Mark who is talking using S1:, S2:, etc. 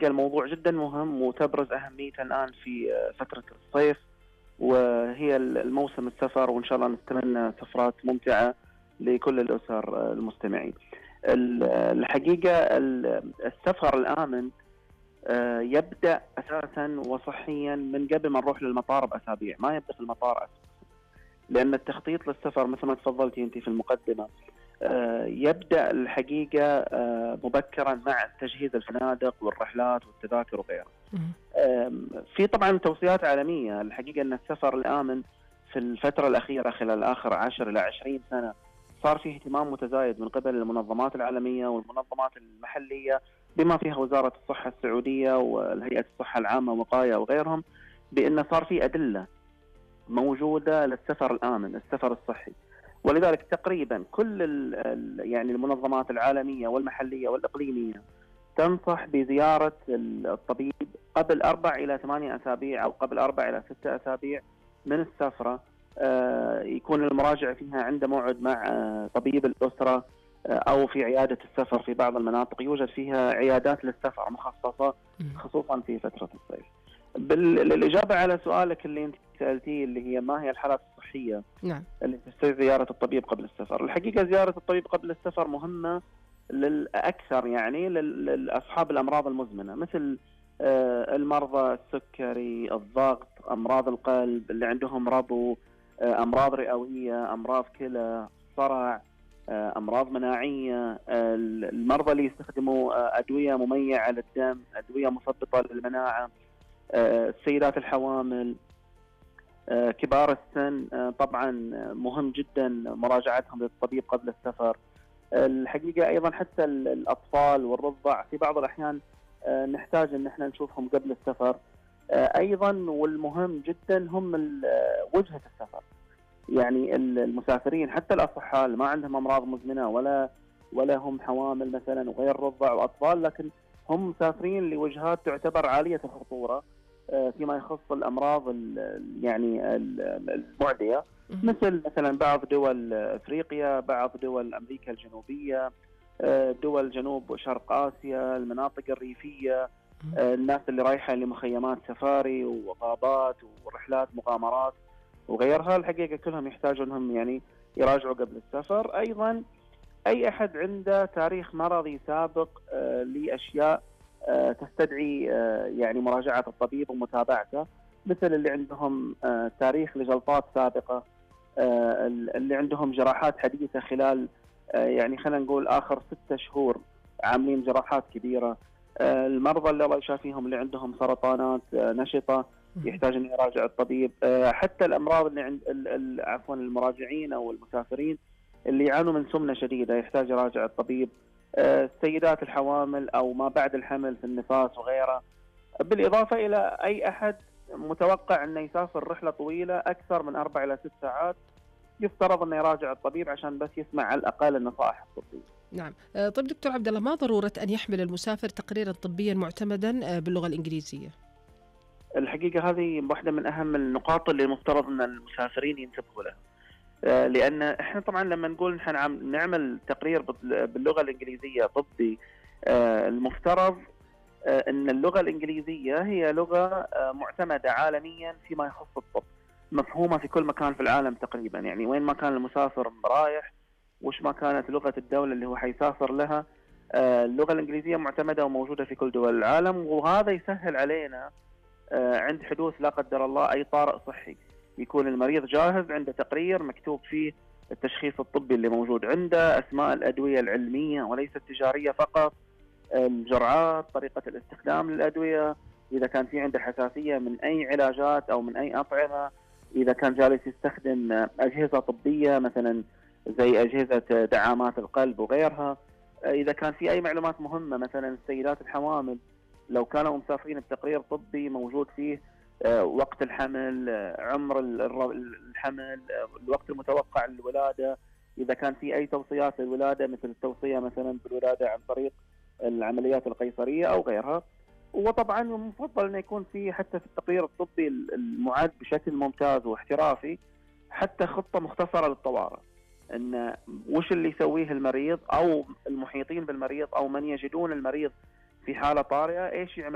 S1: الموضوع جدا مهم وتبرز أهميته الآن في فترة الصيف، وهي الموسم السفر، وإن شاء الله نتمنى سفرات ممتعة لكل الأسر المستمعين. الحقيقة السفر الآمن يبدأ أساسا وصحيا من قبل ما نروح للمطار بأسابيع، ما يبدأ في المطار أساسا، لأن التخطيط للسفر مثل ما تفضلتي أنت في المقدمة يبدأ الحقيقة مبكرا مع تجهيز الفنادق والرحلات والتذاكر وغيرها. في طبعا توصيات عالمية. الحقيقة أن السفر الآمن في الفترة الأخيرة خلال آخر 10 إلى 20 سنة صار فيه اهتمام متزايد من قبل المنظمات العالمية والمنظمات المحلية، بما فيها وزارة الصحة السعودية والهيئة الصحة العامة ووقاية وغيرهم، بأن صار في أدلة موجودة للسفر الآمن، السفر الصحي. ولذلك تقريبا كل يعني المنظمات العالمية والمحلية والإقليمية تنصح بزيارة الطبيب قبل 4 إلى 8 أسابيع أو قبل 4 إلى 6 أسابيع من السفرة. يكون المراجع فيها عنده موعد مع طبيب الأسرة، أو في عيادة السفر. في بعض المناطق يوجد فيها عيادات للسفر مخصصة خصوصا في فترة الصيف. بالإجابة على سؤالك اللي أنت سألتيه اللي هي ما هي الحالات الصحية
S2: نعم
S1: اللي تستدعي زيارة الطبيب قبل السفر، الحقيقة زيارة الطبيب قبل السفر مهمة للأكثر، يعني لأصحاب الأمراض المزمنة، مثل المرضى السكري، الضغط، أمراض القلب، اللي عندهم ربو، أمراض رئوية، أمراض كلى، صرع، أمراض مناعية، المرضى اللي يستخدموا أدوية مميعة للدم، أدوية مثبطة للمناعة، السيدات الحوامل، كبار السن. طبعا مهم جدا مراجعتهم للطبيب قبل السفر. الحقيقة أيضا حتى الأطفال والرضع في بعض الأحيان نحتاج أن احنا نشوفهم قبل السفر أيضا. والمهم جدا هم وجهة السفر، يعني المسافرين حتى الأصحاء اللي ما عندهم أمراض مزمنة ولا هم حوامل مثلا وغير رضع وأطفال، لكن هم مسافرين لوجهات تعتبر عالية الخطورة فيما يخص الأمراض يعني المعدية، مثلا بعض دول أفريقيا، بعض دول أمريكا الجنوبية، دول جنوب وشرق آسيا، المناطق الريفية، الناس اللي رايحة لمخيمات سفاري وغابات ورحلات مغامرات وغيرها. الحقيقة كلهم يحتاجوا أنهم يعني يراجعوا قبل السفر. أيضا أي أحد عنده تاريخ مرضي سابق لأشياء تستدعي يعني مراجعة الطبيب ومتابعته، مثل اللي عندهم تاريخ لجلطات سابقة، اللي عندهم جراحات حديثة خلال يعني خلينا نقول آخر 6 شهور عاملين جراحات كبيرة، المرضى اللي الله يشافيهم اللي عندهم سرطانات نشطة يحتاج أن يراجع الطبيب، حتى الأمراض اللي عند عفوا المراجعين أو المسافرين اللي يعانوا من سمنة شديدة يحتاج يراجع الطبيب، السيدات الحوامل أو ما بعد الحمل في النفاس وغيرها، بالإضافة إلى أي أحد متوقع أنه يسافر رحلة طويلة أكثر من 4 إلى 6 ساعات يفترض أنه يراجع الطبيب عشان بس يسمع على الأقل النصائح الطبية.
S2: نعم. طيب دكتور عبد الله، ما ضرورة أن يحمل المسافر تقريرا طبيا معتمدا باللغة الإنجليزية؟
S1: الحقيقة هذه واحدة من أهم النقاط اللي مفترض أن المسافرين ينتبهوا لها، لأن إحنا طبعا لما نقول نحن نعمل تقرير باللغة الإنجليزية طبي، المفترض أن اللغة الإنجليزية هي لغة معتمدة عالميا فيما يخص الطب، مفهومة في كل مكان في العالم تقريبا، يعني وين ما كان المسافر رايح وش ما كانت لغة الدولة اللي هو حيسافر لها، اللغة الإنجليزية معتمدة وموجودة في كل دول العالم. وهذا يسهل علينا عند حدوث لا قدر الله أي طارئ صحي، يكون المريض جاهز عنده تقرير مكتوب فيه التشخيص الطبي اللي موجود عنده، أسماء الأدوية العلمية وليس التجارية فقط، الجرعات، طريقة الاستخدام للأدوية، إذا كان في عنده حساسية من أي علاجات أو من أي أطعمة، إذا كان جالس يستخدم أجهزة طبية مثلا زي أجهزة دعامات القلب وغيرها، إذا كان في أي معلومات مهمة مثلا السيدات الحوامل لو كانوا مسافرين بتقرير طبي موجود فيه وقت الحمل، عمر الحمل، الوقت المتوقع للولادة، إذا كان في أي توصيات للولادة مثل التوصية مثلا بالولادة عن طريق العمليات القيصرية أو غيرها. وطبعا المفضل أن يكون في حتى في التقرير الطبي المعد بشكل ممتاز واحترافي حتى خطة مختصرة للطوارئ، أن وش اللي يسويه المريض أو المحيطين بالمريض أو من يجدون المريض في حالة طارئة إيش يعمل